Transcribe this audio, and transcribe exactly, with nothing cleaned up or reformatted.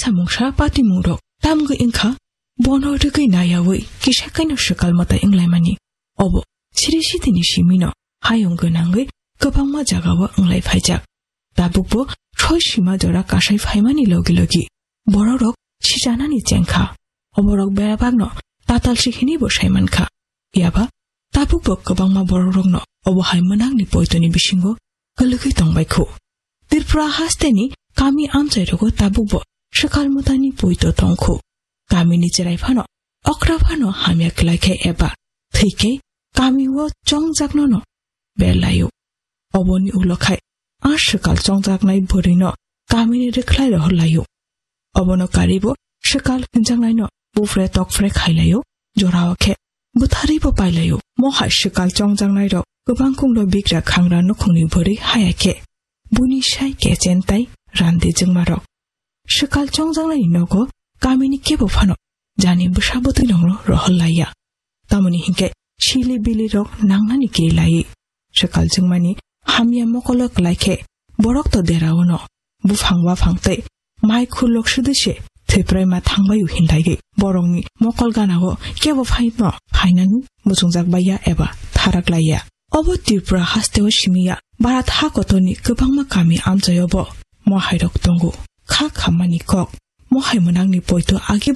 samungsa patimungrok tamgwi wngkha, bono rwgwi nayaui kisa kaino swkal mwtai wnglaimani. Obo siri sitini simino hayung gwnangwi kwbangma jagao wnglai phaijak. Tabukbo soi sima jora kasai phaimani logi logi borokrok sijanani chengkha. Oborok berabakno tatalsi hinwibo saimankha. Phiyaba tabukbo kwbangma borokrokno obo hai mwnangni poitoni bisingo kwlwgwi tongbaikhu. Tripura hasteni kami amchairogo tabukbo swkal mwtaini poito tongkhu. Kamini chwrai phano okra phano hamya kwlaikhe eba thwikhe kamio chongjaknono berlaio. Oboni ulo khai a swkal chongjaknai bwrwino kamini rwkhlai rohorlaio. Obono karibo swkal hwnjaknaino bufre tokfre khailaio, jorao khe bwtharwibo pailaio. Mohai swkal chongjaknairok kwbangkungno bigra khangra nukhungni bwrwi haya khe buni sai kechen tai randi jwngmarok. Swkal chongjaknaini nogo kamini kebo phano jani bwsa bwtwirokno rohorlaiya. Tamoni hinkhe sili bilirok nangnani kirilaiwi swkal jwngmani hamya mokolo kwlaikhe borok to deraono buphang waphang tei mai khulok sudise thwipraima thangbaio hinlaiwi borokni mokol ganao kebo phaino phainani muchungjak baiya eba tharak laiya. Obo Tripura hasteo simiya Bharat ha kotorni kwbangma kami amchaiobo mohairok tongo. Kha khammani kok mohai mwnangni poito agi